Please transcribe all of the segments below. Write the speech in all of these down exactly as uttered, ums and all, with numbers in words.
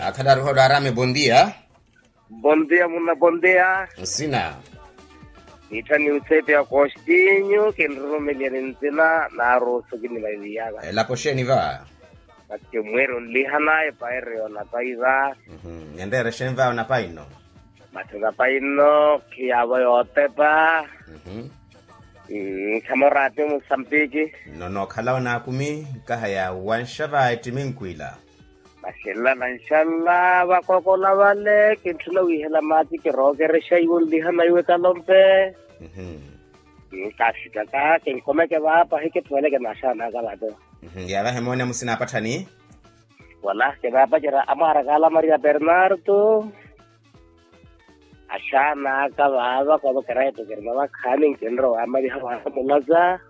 Akhalaru holo arame bondia. Bondia muna bondia. Nsina. Nittha ni usepe ya kostinyu kinrurumeliya ni ntsina naarusu kinimalilyaka. Elapo xeeni va? Mati mweeri onlihana epaire yoonapayi va. Enreere xeeni va onapayi nno? Mati onapayi nno khiyaavo yootepa. Nkhama oraati mussampiki. Nno nookhala onaakumi nkaha yaawanxa va ettimi nkwila. Maxelela nanxalla vakookola vale kintthuna wiihela maati kirookerexa iwe onlihana iwe kalompe. Nkafika ka kinkomeke vaapa hikitthoweleke na axaana aka vaate. Yaavahe moone amusina apatthani. Wala kinaapacerya amwaara kaala maria bernarto. Axaana aka vaava koovo kirayi tokirina vakhaani nkinrowa amaliha vaamulaza.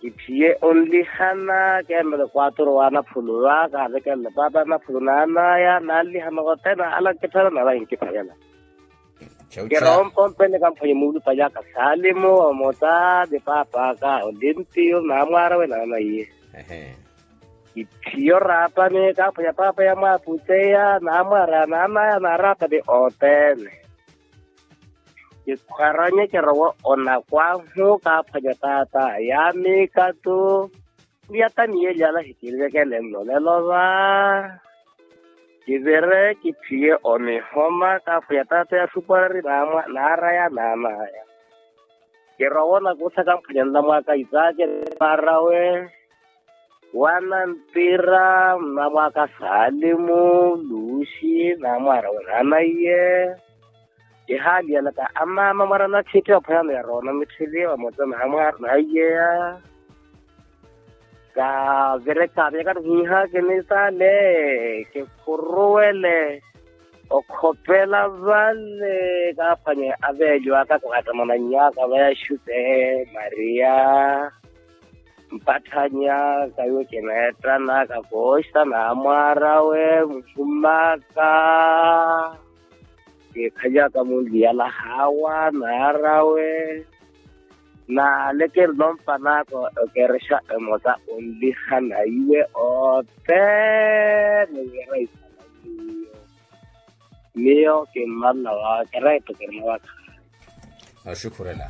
Kitthiye onlihana keemele kwaturo wa anaphulu va kaavekelele paapa anaphulu naanaya nanlihana othene ala nkittharana ala nkiphayela. Kiroompa ompene kamphwanye muulupanyaka salimu omota ni paapa aka olimpiyo naamwaara we naanaiye. Kitthiyo raapani kaaphwanya paapa yamwaaputeya naamwaara naanaya naaraapani othene. Kikhwaranye kirowa onakwahu kaaphwanya taata yaamikatu. Ni yataniyeli ala hikilivekele nlolelo va. Kivire kitthiye onihoma kaaphwanya taata ya suparari naaraya naanaya. Kirowa onakusa kamphwanya nlamwaka isake naamwaarawe. Wanantira mnamwaka salimu luxi naamwaarawe naanaiye. Kihaaliyanaka amaama mwarana khitti ophweyano yaroona mitthili vamosa naamwaara naaiyeya. Kavire kaaviyaka nihiiha kinisale kikhuruwele okhopela vale kaaphwanye aveeliwaka kaattamananyaka vayaxute maria. Mpatthanya kaiwe kineettanaka kooxita naamwaarawe muhumaka. Kiikhalyaka munliyala haawa naarawe. Naale kinlompanaka okerexa emosa onlihana iwe othene wira isala miyo. Miyo kimmalla wawe kirayi tokirina vakhaani. Oxukhurela.